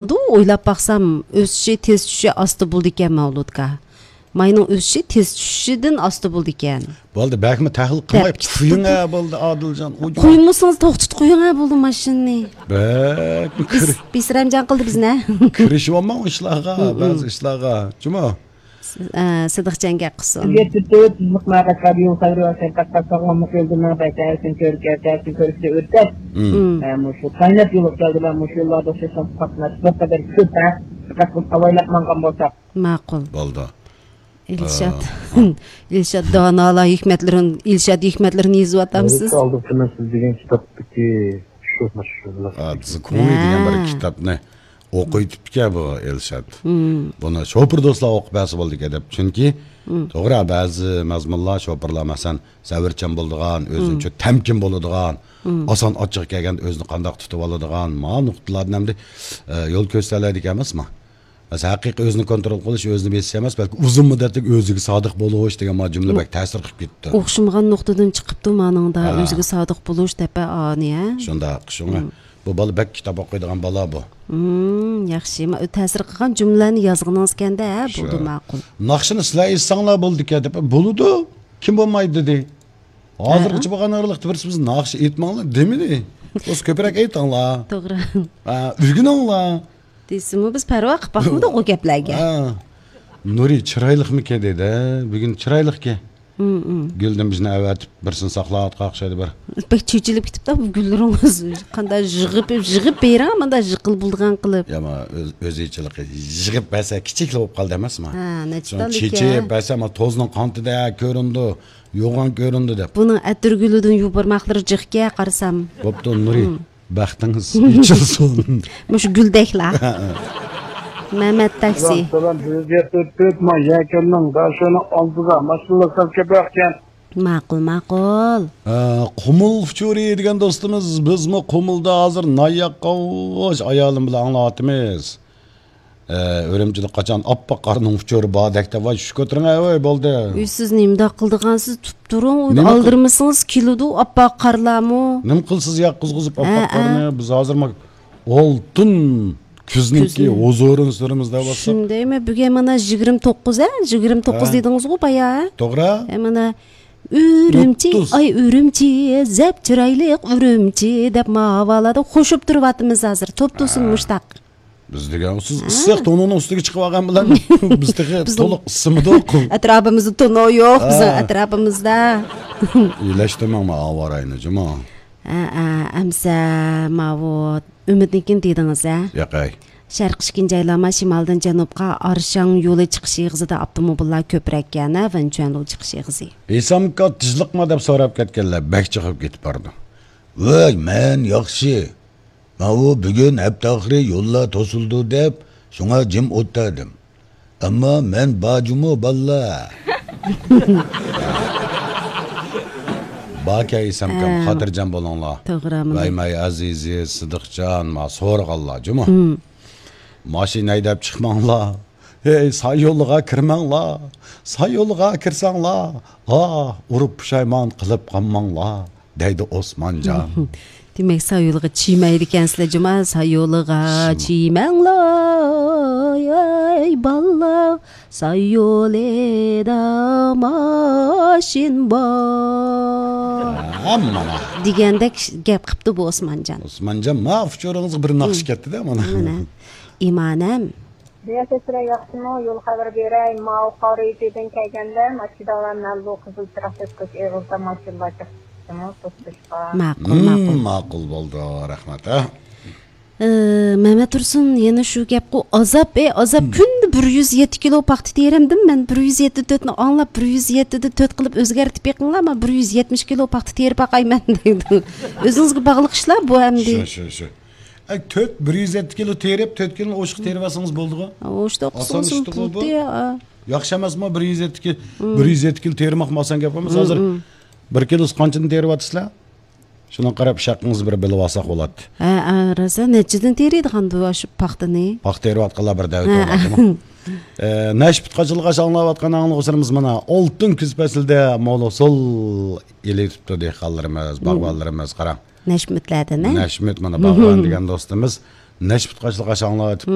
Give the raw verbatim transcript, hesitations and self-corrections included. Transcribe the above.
ئويلاپ باقسام، ئۆسۈشى تېز، چۈشۈشى ئاستا بولىدىكەن، مەۋلۇتكا. ماينىڭ ئۆسۈشى تېز، چۈشۈشىدىن ئاستا بولىدىكەن. بولدى، بەكمۇ تەھلىل قىلماي دەپ كېتىپتۇ. قويۇڭ ھە، بولدى، ئادىلجان. قويمىسىڭىز، توختىتىپ قويۇڭ ھە، بولدى، ماشىنىنى. بەكمۇ بىز، كىر-، بىسرەمجان قىلدى بىزنى. كىرىشىۋالماڭ ئىشلارغا، بەزى ئىشلارغا. جۇمۇ. س-، ئە، سىدىقجان گەپ قىلسۇن. يەتتە تۆت يىللىق مەن قەشقەرگە يول خەۋىرى ۋە سەنئەت قاتناشقان مۇقىم دىننىڭ بەشەر ھەرىسىنى كۆرۈپ، كەلسە ھەرىسىنى كۆرۈشتە ئۆتكەچ، مم. ئە، مۇشۇ كائىنات يولىغا كەلدى. مەن مۇشۇ يوللاردا ئوخشاش قاتناش بىر قەدەر كۆپ، ھە؟ دىققەت قىلىپ ئاۋايلاپ ماڭغان بولساق. ماقۇل. بولدى. ئىلشات. ئا، ئا. ئىلشات دانالار ھېكمەتلىرىنى، ئىلشات ھېكمەتلىرىنى يېزىۋاتامسىز؟ ئالدى سىز دېگەن كىتابتىكى شۇ، مۇشۇ. ئا، زىكۇي دېگەن بىر ھە. كىتابنى ئوقۇۋېتىپتىكەن بۇ ئىلشات. مم. بۇنى شوپۇر دوستلار ئوقۇپ بەرسە بولىدىكەن دەپ. چۈنكى مم. توغرا، بەزى مەزمۇنلار، شوپۇرلار، مەسىلەن، سەۋرچان بولىدىغان، ئۆزىنى مم. چۆ-، تەمكىن بولىدىغان، مم. ئاسان ئاچچىقى كەلگەندە ئۆزىنى قانداق تۇتۇۋالىدىغان، ما نۇقتىلاردىن ئەمدى، ئە، يول كۆرسىتەلەيدىكەن ئەمەسمۇ؟ مەسىلەن، ھەقىقىي ئۆزىنى كونترول قىلىش، ئۆزىنى بېسىش ئەمەس، بەلكى ئۇزۇن مۇددەتلىك ئۆزىگە سادىق بولۇش دېگەن ما جۈملە بەك تەسىر قىلىپ كېتىپتۇ. ئوخشىمىغان نۇقتىدىن چىقىپتۇ مانىڭدا، ھە. ئۆزىگە سادىق بولۇش دەپ ئانى، ھە؟ شۇنداق، شۇڭا. مم. بۇ بالا بەك كىتاب ئوقۇيدىغان بالا بۇ. مم، ياخشى. ما-، تەسىر قىلغان جۈملىلەرنى يازغىنىڭىزكەندە، ھە، شۇ. بولدى، ماقۇل. ناخشىنى سىلەر ئېيتساڭلار بولىدىكەن دەپ، بولىدۇ. كىم بولمايدۇ دېدى. ھازىرغىچە ھە. بولغان ئارىلىقتا بىرسى بىز ناخشا ئېيتماڭلار دېمىدى. بولسا كۆپرەك ئېيتىڭلار. توغرا. ھە، ئۆگىنىڭلار. دېسىمۇ بىز پەرۋا قىلىپ باقمىدۇق ئۇ گەپلەرگە. ھە. نۇرى چىرايلىقمىكەن دېدى. بۈگۈن چىرايلىقكەن. ھىم، ھىم. گۈلدىن بىزنى ئەۋەتىپ، بىرسىنى ساقلاۋاتقان ئوخشايدۇ بىر. بەك چېچىلىپ كېتىپتۇ بۇ گۈللىرىڭىز. قانداق يىغىپ، يىغىپ بېرىڭ، مانداق يىقىلىپ بولىدىغان قىلىپ. يا، ما، ئۆز-، ئۆزىچىلىكى. يىغىپ بەرسە كىچىكلا بولۇپ قالدى ئەمەسما؟ ھە، نەچچە شۇڭا تال چېچىپ ئىكەن. بەرسە، ما، توزنىڭ قانىتىدا كۆرۈنىدۇ، يوغان كۆرۈنىدۇ دەپ. بۇنىڭ ئەتىر گۈلىدىن يۇ بارماقلىرى جىقكەن قارىسام. بوپتۇ، نۇرى. ھىم. بەختىڭىز ئېچىلسۇن. مۇشۇ گۈلدەكلا. مەمەت تاكسى. سالام، سالام. بىز يەتتە تۆت ما يەكەننىڭ داشۆنىڭ ئالدىدا ماشىنىلار سەل كۆپرەككەن. ماقۇل، ماقۇل. ھە، قۇمۇل ئۇچۇرى دېگەن دوستىمىز، بىزمۇ قۇمۇلدا ھازىر نان ياققاچ ئايالىم بىلەن ئاڭلاۋاتىمىز. ئە، ئۈرۈمچىدە قاچان ئاپئاق قارنىڭ ئۇچۇرى باردەك دەپ، ۋاي، چۈش كۆتۈرۈڭ، ۋاي، بولدى. ئۆي، سىز نېمىنداق قىلىدىغانسىز، تۇرۇپ تۇرۇڭ، ئۇنى نېمە قىل- ئالدىرمىسىڭىز كېلىدۇ ئاپئاق قارلارمۇ. نېمە قىلىسىز ياققۇزغۇزۇپ ھە، ئاپئاق ھە. قارنى؟ بىز ھازىر ما-، ئالتۇن كۈزنىڭكى كۈزنىڭ. ھۇزۇرىنى سۈرىمىز دەۋاتساق. شۇندايمۇ، بۈگۈن مانا يىگىرمە توققۇز، ھە؟ يىگىرمە توققۇز ھە. دېدىڭىزغۇ بايا، ھە؟ توغرا. ھە، مانا، ئۈرۈمچى، ئوتتۇز. ئاي ئۈرۈمچى، زەپ چىرايلىق ئۈرۈمچى دەپ ما ھاۋالاردا قوشۇپ تۇرۇۋاتىمىز ھازىر. توپ-توسۇن ھە. مۇشتاق. بىز دېگەن، سىز ھە. ئىسسىق تونۇڭنىڭ ئۈستىگە چىقىۋالغان بىلەن بىز تېخى بىزنىڭ تولۇق ئىسسىمىدۇق. ئەتراپىمىزدا تونۇ يوق، بىزنىڭ ھە. ئەتراپىمىزدا. ئىلەشتۈرمەڭ ما ئاۋاراينى، جۇمۇ. ھە، ھە، ئەمسە ماۋۇ ئۈمىدنىڭكىنى دېدىڭىز، ھە؟ ياقەي. شەرققە ئىككىنچى ئايلانما، شىمالدىن جەنۇبقا ئارشاڭ يولى چىقىش ئېغىزىدا ئاپتوموبىللار كۆپرەككەن، ھە، ۋېنچۈەنلۇ چىقىش ئېغىزى. ھېسامكا تېزلىقما دەپ سوراپ كەتكەنلەر، بەك چىقىپ كېتىپ بارىدۇ. ۋاي، مەن ياخشى. ماۋۇ بۈگۈن ھەپتە ئاخىرى يوللار توسۇلىدۇ دەپ، شۇڭا جىم ئولتۇردۇم. ئەمما مەن بار جۇمۇ بالىلار. باركەن ئېسەمكەن، ھە. خاتىرجەم بولۇڭلار. توغرا، مۇنداق. ۋەي مەي ئەزىزى، سىدىقجان، ما سورىغانلار جۇمۇ. ھىم. ماشىنا ھەيدەپ چىقماڭلار. ھەي، ساي يولىغا كىرمەڭلار. ساي يولىغا كىرسەڭلار، ئاھ، ئۇرۇپ پۇشايمان قىلىپ قالماڭلار. دەيدۇ ئوسمانجان. دېمەك، سايولىغا چىمەيدىكەنسىلەر جۇما، سايولىغا چىمەڭلار، ئەي بالىلار، سايولىدا ماشىنا بار. ھە، مانا. دېگەندەك گەپ قىپتۇ بۇ ئوسمانجان. ئوسمانجان، ما ئۇچۇرىڭىزغا بىر ناخشا كەتتى-دە، مانا. مانا. ئىمانەم. مۇيەسسەر ياخشىمۇ؟ يول خەۋىرى بېرەي. ماۋۇ قارىيىتىدىن كەلگەندە، ماشىنىلار مەن بۇ قىزىل چىراغ چەتكۈچ ئېغىزدا ماشىنىلار چىقىپتىمۇ، توختىشىشقا. ماقۇل، ماقۇل. ماقۇل بولدى، رەھمەت، ھە. ئى، مەمەت تۇرسۇن، يەنە شۇ گەپقۇ، ئازاب، ئى، ئازاب، كۈندە بىر يۈز يەتتە كىلو پاختا تېرەمدىم مەن، بىر يۈز يەتتە تۆتنى ئاڭلاپ، بىر يۈز يەتتىدە تۆت قىلىپ ئۆزگەرتىپ بېقىڭلار، مەن بىر يۈز يەتمىش كىلو پاختا تېرىپ باقايمەن دەيدۇ. ئۆزىڭىزگە باغلىق ئىشلار بۇ ئەمدى. شۇ، شۇ، شۇ. ئەي، تۆت، بىر يۈز يەتتە كىلو تېرىپ، تۆت كىلونى ئوشۇققا تېرىۋەتسىڭىز بولدىغۇ. ئوشۇقتا ئاسان ئىشتىغۇ بۇ. ياخشى ئەمەسمۇ، بىر يۈز يەتتە كىلو، بىر يۈز يەتتە كىلو تېرىماق ئاسان گەپ ئەمەس. ھازىر بىر كىلوسى قانچىدىن تېرىۋاتىسىلەر؟ شۇنىڭغا قاراپ، ئىش ھەققىڭىزنى بىر بىلىۋالساق بولاتتى. ھە، ھە، راست، ھە، نەچچىدىن تېرىيدىغاندۇ شۇ پاختىنى؟ پاختا تېرىۋاتقانلار بىر دەۋەت ھە، بولغاندىمۇ؟ ئە، نەشپۈت قاچىلىغاچ ئاڭلاۋاتقان ئاڭلىغۇچىلىرىمىز مانا ئالتۇن كۈز پەسلىدە مول ھوسۇل ئېلىۋېتىپتۇ دېھقانلىرىمىز، باغۋەنلىرىمىز، قاراڭ. نەشمىتلەردىن، ھە؟ نەشمىت، مانا، باغۋەن دېگەن دوستىمىز نەشپۈت قاچىلىق ئاشاڭلار ئېتىپتۇ.